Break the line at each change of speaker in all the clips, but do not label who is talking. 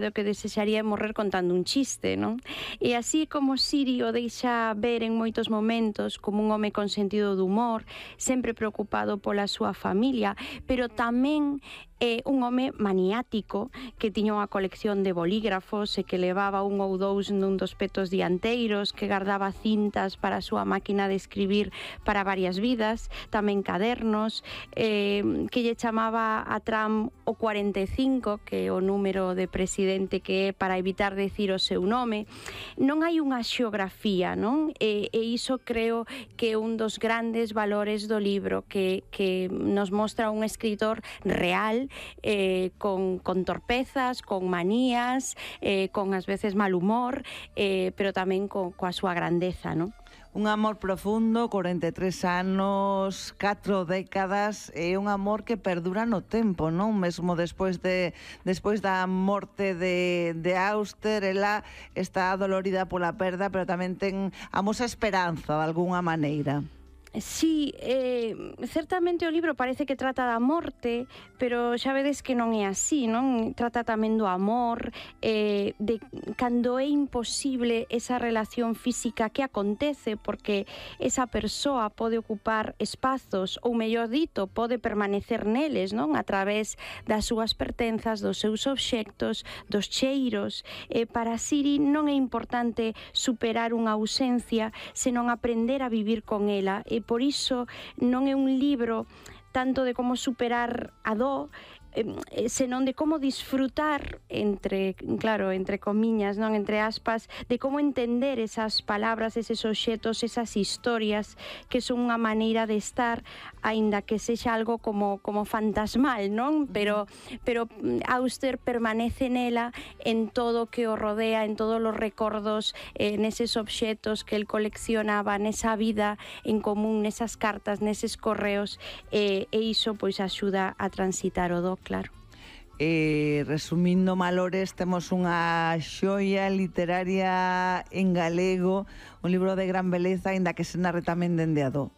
do que desexaría morrer contando un chiste, non? E así como Siri o deixa ver en moitos momentos como un home con sentido de humor, sempre preocupado pola súa familia, pero tamén un home maniático que tiña unha colección de bolígrafos e que levaba un ou dous nun dos petos dianteiros, que guardaba cintas para a súa máquina de escribir para varias vidas, tamén cadernos, que lle chamaba a Trump o 45, que é o número de presidente que é para evitar decir o seu nome. Non hai unha xeografía, non? E iso creo que é un dos grandes valores do libro, que nos mostra un escritor real, con torpezas, con manías, con ás veces mal humor, pero tamén coa súa grandeza, non?
Un amor profundo, 43 anos, 4 décadas, é un amor que perdura no tempo, non? Mesmo despois da morte de Auster, ela está dolorida pola perda, pero tamén ten amosa esperanza de algunha maneira.
Sí, certamente o libro parece que trata da morte, pero xa vedes que non é así, non? Trata tamén do amor, de cando é imposible esa relación física que acontece, porque esa persoa pode ocupar espazos, ou mellor dito, pode permanecer neles, non? A través das súas pertenzas, dos seus obxectos, dos cheiros. Para Siri non é importante superar unha ausencia, senón aprender a vivir con ela. Por iso non é un libro tanto de como superar a dor, senón de como disfrutar, entre comiñas, non, entre aspas, de como entender esas palabras, eses obxetos, esas historias que son unha maneira de estar, aínda que sexa algo como fantasmal, non? Pero Auster permanece nela, en todo o que o rodea, en todos os recordos, neses obxetos que el coleccionaba, nesa vida en común, nesas cartas, neses correos, e iso pois axuda a transitar o do, claro.
Resumindo Malores, temos unha xoia literaria en galego, un libro de gran beleza, aínda que se narre tamén dende a do.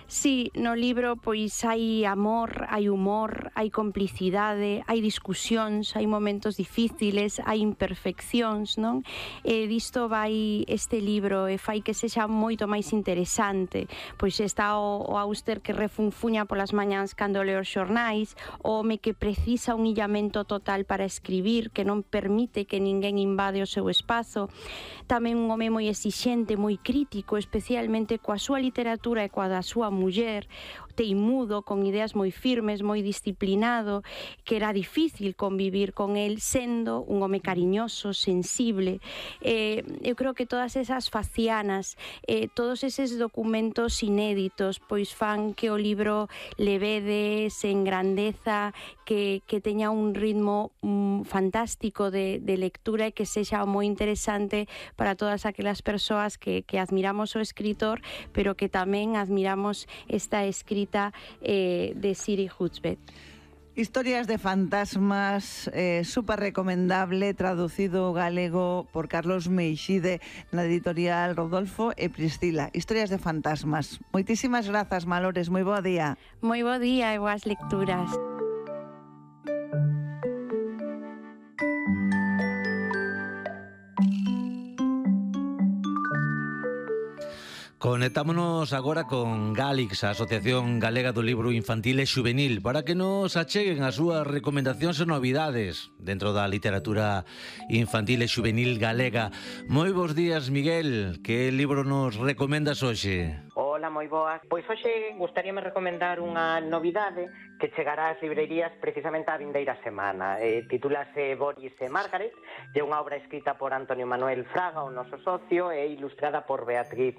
Sí, no libro pois hai amor, hai humor, hai complicidade, hai discusións, hai momentos difíciles, hai imperfeccións, non? E disto vai este libro e fai que sexa moito máis interesante. Pois está o Auster que refunfuña polas mañáns cando lee os xornais, o home que precisa un illamento total para escribir, que non permite que ninguén invade o seu espazo. Tamén un home moi exixente, moi crítico, especialmente coa súa literatura e coa da súa muller, teimudo, con ideas moi firmes, moi disciplinado, que era difícil convivir con el, sendo un home cariñoso, sensible. Eu creo que todas esas facianas, todos eses documentos inéditos, pois fan que o libro levede, se engrandeza, que teña un ritmo fantástico de lectura e que sexa moi interesante para todas aquelas persoas que admiramos o escritor, pero que tamén admiramos esta escrita de Siri Hustvedt.
Historias de fantasmas, super recomendable, traducido galego por Carlos Meixide na editorial Rodolfo e Priscila. Historias de fantasmas. Moitísimas grazas, Malores, moi bo día.
Moi bo día e boas lecturas.
Conectámonos agora con Galix, a Asociación Galega do Libro Infantil e Xuvenil, para que nos acheguen as súas recomendacións e novidades dentro da literatura infantil e xuvenil galega. Moi bons días, Miguel. Que libro nos recomendas hoxe?
Hola, moi boas. Pois hoxe gustaríame recomendar unha novidade que chegará ás librerías precisamente a vindeira semana. Titúlase Boris e Margaret, é unha obra escrita por Antonio Manuel Fraga, o noso socio, e ilustrada por Beatriz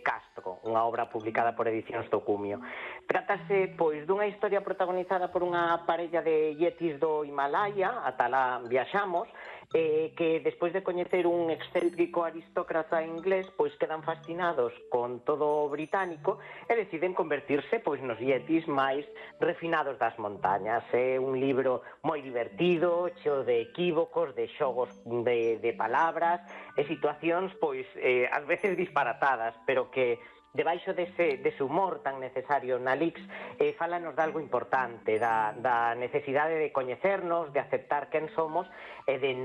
Castro, unha obra publicada por Edicións do Cumio. Trátase, pois, dunha historia protagonizada por unha parella de yetis do Himalaya, ata lá viaxamos, que despois de coñecer un excéntrico aristócrata inglés, pois quedan fascinados con todo o británico e deciden convertirse pois nos yetis máis refinados das montañas. É un libro moi divertido, cheo de equívocos, de xogos de palabras e situacións pois ás veces disparatadas, pero que debaixo dese humor tan necesario na Lix, fálanos de algo importante, da necesidade de coñecernos, de aceptar quen somos e de